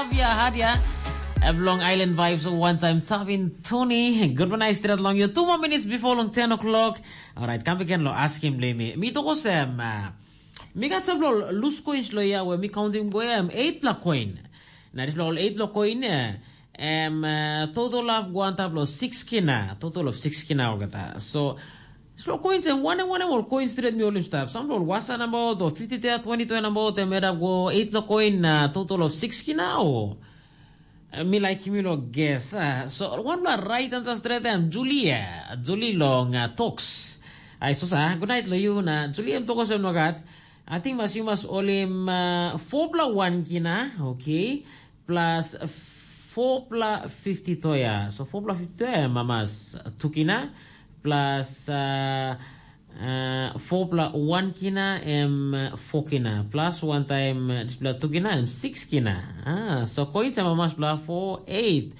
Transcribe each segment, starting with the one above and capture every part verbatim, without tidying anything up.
Hadia, hadia. Em long Island Vibes, one time Tavin Tony. Good morning, straight along you. Two more minutes before long ten o'clock. Alright, come again lo askim le mi. Mi toko sem. Uh, mi gat several loose coins lo ya where mi counting go em eight la coin. Na dispela ol eight lo coin ya. Em uh, total of go antap lo six kina. Total of six kina olgeta. So, slow coins em wanem wanem ol coins stret mi holim stap. Some ol wasa nabaut o fifty tea, twenty tea nabaut em edap go eight lo coin na total of six kina o. Eh, mi like mi lo guess. Ah, so one la right answer stret em Julia. Julie long uh, talks. Ai so sa, good night lo you na Julie em tokos em nogat. I think mas you mas olim uh, four pla one kina, okay. Plus four pla fifty toya. So four pla fifty toya mamas two kina plus uh, uh, four pla one kina em uh, four kina plus one time uh, dispela two kina em six kina. Ah, so coins em mamas pla four eight.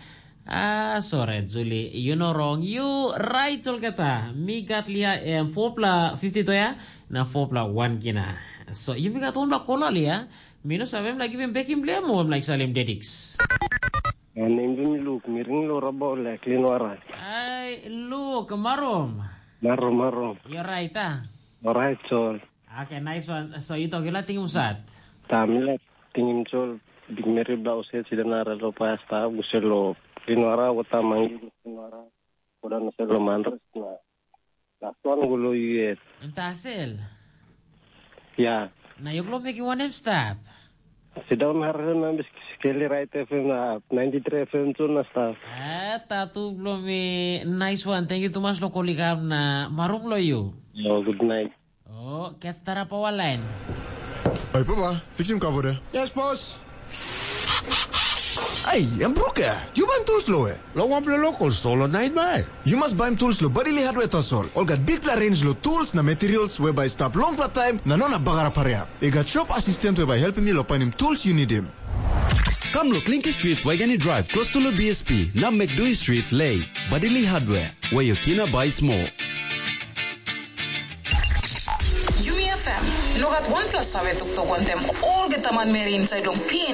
Ah, sorry, Julie, you no wrong. You right olgeta. Mi gat lia em four pla fifty toya na four pla one kina. So you mi gat one pla kola lia. Mi no save em like giving bekim blem o em like salim dediks. Em nem mi Luk, mi ring lo raba ole klin wara. Ai, Luk, marum. Maro maro. You're right, ah. Alright, so Okay, nice one. So you talk, you like tingum sat. Ta mi la tingim sol big meri blau se sida na relo pasta guselo. Klin wara wata mangi klin wara. Kodan selo manres na. Last one gulo yet. Tasel. Ya. Na you glo make you one step. Sit down harre na bis keli right F M na ninety three F M tu na staff. Ah, tatu blo mi nice one. Thank you too much lo kolikam na marum lo you. Yo, good night. Oh, get start up our line. Oi, papa, fixim kabore. Yes, boss. Ai, em bruke, yu baim tools lo we? Lo wanpela local store lo Nine Mile. Yu mas baim tools lo Badili Hardware tasol. Ol gat bikpela range lo tools na materials we bai stap longpela taim na no na bagarap hariap. I gat shop assistant we bai helpim yu lo painim tools yu nidim. Kam lo Klinki Street, Waigani Drive, close to lo B S P, na Mekdui Street, Lei. Badili Hardware, where your kina buy small. Yumi F M, no gat wanpela save toktok wantem olgeta manmeri inside long P N.